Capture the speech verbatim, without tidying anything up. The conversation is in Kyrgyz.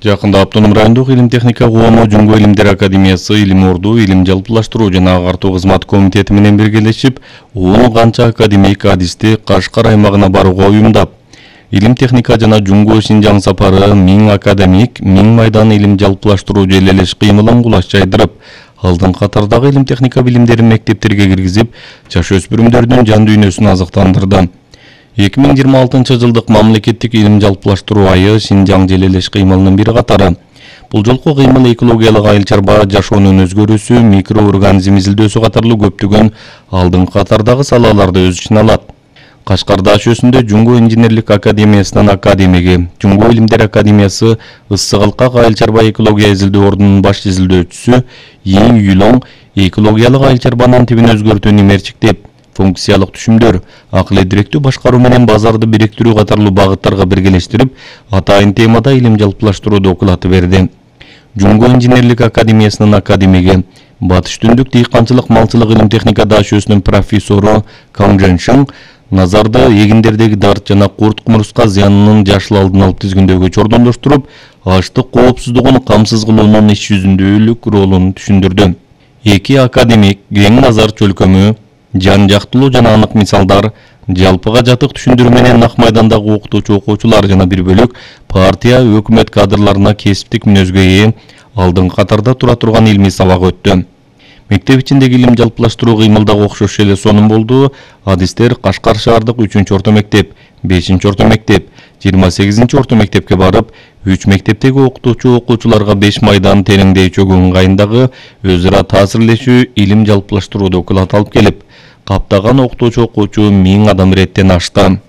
Жакында Автоном райондук илим техника коому Жумго илимдер академиясы илим орду илим жалпылаштыруу жана агартуу кызмат комитети менен биргелешип он канча академик адисти Кашкар аймагына барууга уюмдап, илим техника жана Жумго Шинжаң сапары миң академик, миң майдан илим жалпылаштыруу желелеш кыймылын кулаш жайдырып, алдын катардагы илим техника билимдерин мектептерге киргизип, жаш өспүрүмдөрдүн жан дүйнөсүн азыктандырды. эки миң жыйырма алтынчы жылдык мамлекеттик илим жалпылаштыруу айы Шинжаң желелеш кыймылынын бир катары. Бул жолку кыймыл экологиялык айыл чарба, жашоонун өзгөрүүсү, микроорганизм изилдөөсү катарлуу көптөгөн алдын катардагы салаларды өз ичине алат. Кашкар даашөсүндө Жумго инженерлик академиясынын академиги, Жумго илимдер академиясы Ысык-Алкак айыл чарба экология изилдөө ордунун баш изилдөөчүсү Ийин Юлоң экологиялык айыл чарбанын тибин өзгөртүү немерчиктеп, функциялык түшүмдөр, акыл эдиректүү башкаруу менен базарды бириктирүү катарлуу багыттарга биргелештирип, атайын темада илим жалпылаштыруу доклады берди. Жумго инженерлик академиясынын академиги, Батыш Түндүк дыйканчылык малчылык илим техника даашөсүнүн профессору Кang Жэншин назарды эгиндердеги дарт жана курт кумурска зыянынын жашыл алдын алып тизгиндөөгө чордондоштуруп, аштык коопсуздугун камсыз кылуунун иш жүзүндөлүк ролун түшүндүрдү. Эки академик кең назар чөлкөмү, жан жактылуу жана анык мисалдар, жалпыга жатык түшүндүрүү менен ак майдандагы окутуучу окуучулар жана бир бөлүк партия, өкмөт кадрларына кесиптик мүнөзгө ээ, алдын катарда тура турган илмий сабак өттү. Мектеп ичиндеги илим жалпылаштыруу кыймылдагы окшош эле сонун болду. Адистер Кашкар шаардык үчүнчү орто мектеп, бешинчи орто мектеп, жыйырма сегизинчи орто мектепке барып, үч мектептеги окутуучу окуучуларга беш майдан тереңдей чөгүү ыңгайындагы өз ара таасирлешүү илим жалпылаштыруу доклады алып келип, каптаган окутуучу окуучу миң адам иреттен ашты.